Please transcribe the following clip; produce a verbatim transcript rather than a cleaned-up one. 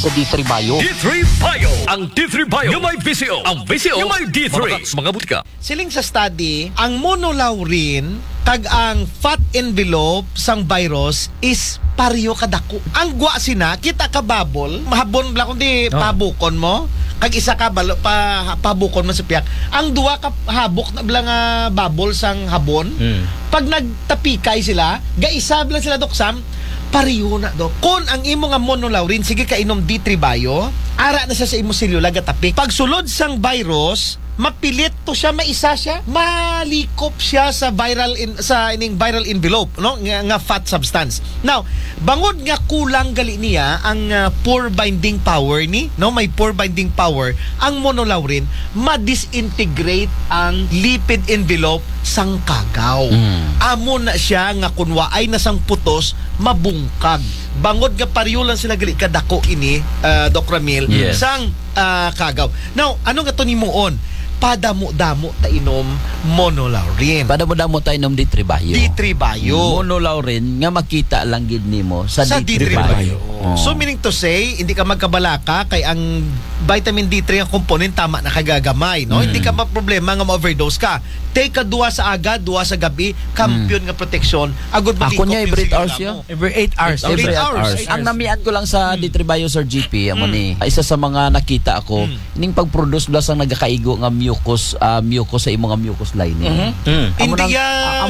D three Bio. D three Bio. Ang D three Bio nga may V C O. Ang V C O nga may D three. Mga butika. Siling sa study, ang monolaurin kag ang fat envelope sang virus is pareho kadako. Ang gwa sina, kita ka bubble, mahabon bala kundi Oh. pabukon mo, kag isa ka balo, pa, pabukon mo sa piyak. Ang duwa ka habok na bala nga bubble sang habon, Mm. pag nagtapikay sila, gaisa bala sila, Doc Sam, pareho na, Doc. Kon ang imo nga monolaurin, sige ka inom D three Bio, ara na siya sa imo selula, gatapik. Pagsulod sang virus, mapilit to siya, maisa siya, malikop siya sa viral in, sa ining viral envelope, no, nga, nga fat substance. Now, bangod nga kulang gali niya ang ah, pore binding power ni, no, may pore binding power ang monolaurin, ma-disintegrate ang lipid envelope sang kagaw. Mm. Amo na siya nga kun waay na sang putos, mabungkag. Bangod nga pareho lang sila gali kadako ini, ah, Doc Ramil, Yes. sang ah, kagaw. Now, ano nga to nimuon? Padamo-damo ta inom monolaurin. Padamo-damo ta inom D three Bio. D three Bio. Monolaurin nga makita lang gid nimo sa, Sa D three D three Bio. Bio. Oh. So, meaning to say, hindi ka magkabalaka kay ang vitamin D three ang component tama na kagagamay, no? Mm. Hindi ka maproblema nga ma-overdose ka. Take ka duwa sa aga, duwa sa gabi, kampiyon nga proteksyon. Agud Ako malikop niya, yung every selula hours, mo. yeah. Every eight hours. Every Every eight eight hours. hours. Ang namian ko lang sa D three Bio, Sir G P, amo Mm. ni. Isa sa mga nakita ko, Mm. ning pag-produce bala sang nagakaigo nga mucus, ah, mucus sa imo nga mucus lining. Mhm. Mm. Amo Hindi nang- ya ah, amo